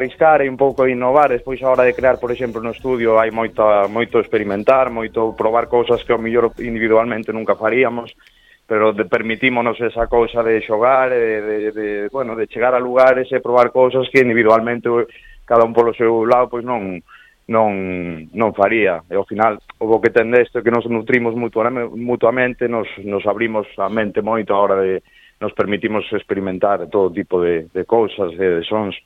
arriscar e un pouco innovar. Despois a hora de crear, por exemplo, no estudio hai moito experimentar, moito probar cousas que ao mellor individualmente nunca faríamos, pero permitímonos esa cousa de xogar, de chegar a lugares e probar cousas que individualmente cada un polo seu lado pois non faría. E ao final o que ten desto é que nos nutrimos mutuamente, nos abrimos a mente moito a hora de nos permitimos experimentar todo tipo de cousas e de sons.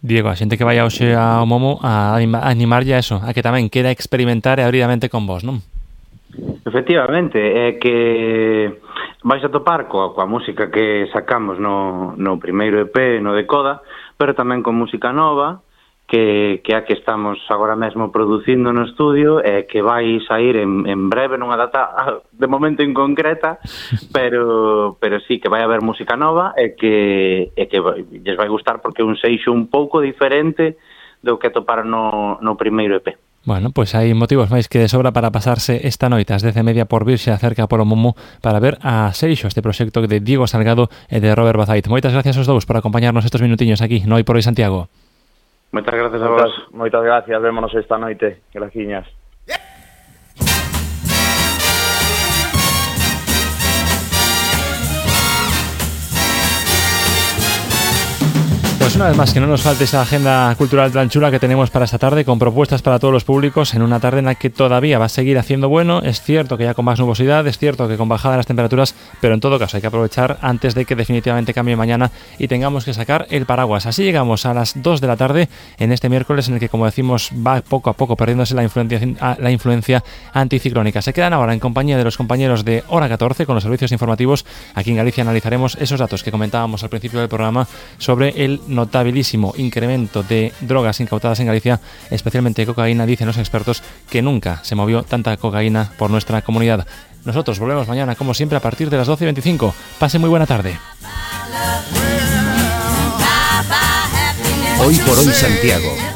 Diego, a xente que vai hoxe ao Momo a animarlle a eso, a que tamén quera experimentar e abrir a mente con vos, non? Efectivamente, é que vais a topar coa música que sacamos no primeiro EP, no de Coda, pero tamén con música nova, que a que estamos agora mesmo producindo no estudio e que vai sair en breve, nunha data de momento inconcreta, pero sí que vai haber música nova e que lles vai gustar porque é un seixo un pouco diferente do que atoparon no primeiro EP. Bueno, pois hai motivos máis que de sobra para pasarse esta noite ás 10:30 por Virxe acerca polo Momo para ver a Seixo, este proxecto de Diego Salgado e de Robert Bazait. Moitas gracias aos dous por acompañarnos estes minutiños aquí no Hoy por Hoy Santiago. Moitas gracias a vos. Moitas gracias, vémonos esta noite. Graciñas. Pues una vez más, que no nos falte esa agenda cultural tan chula que tenemos para esta tarde, con propuestas para todos los públicos, en una tarde en la que todavía va a seguir haciendo bueno. Es cierto que ya con más nubosidad, es cierto que con bajada de las temperaturas, pero en todo caso hay que aprovechar antes de que definitivamente cambie mañana y tengamos que sacar el paraguas. Así llegamos a las 2 de la tarde en este miércoles en el que, como decimos, va poco a poco perdiéndose la influencia anticiclónica. Se quedan ahora en compañía de los compañeros de Hora 14 con los servicios informativos. Aquí en Galicia analizaremos esos datos que comentábamos al principio del programa sobre el notabilísimo incremento de drogas incautadas en Galicia, especialmente cocaína. Dicen los expertos que nunca se movió tanta cocaína por nuestra comunidad. Nosotros volvemos mañana, como siempre, a partir de las 12:25. Pase muy buena tarde. Hoy por Hoy Santiago.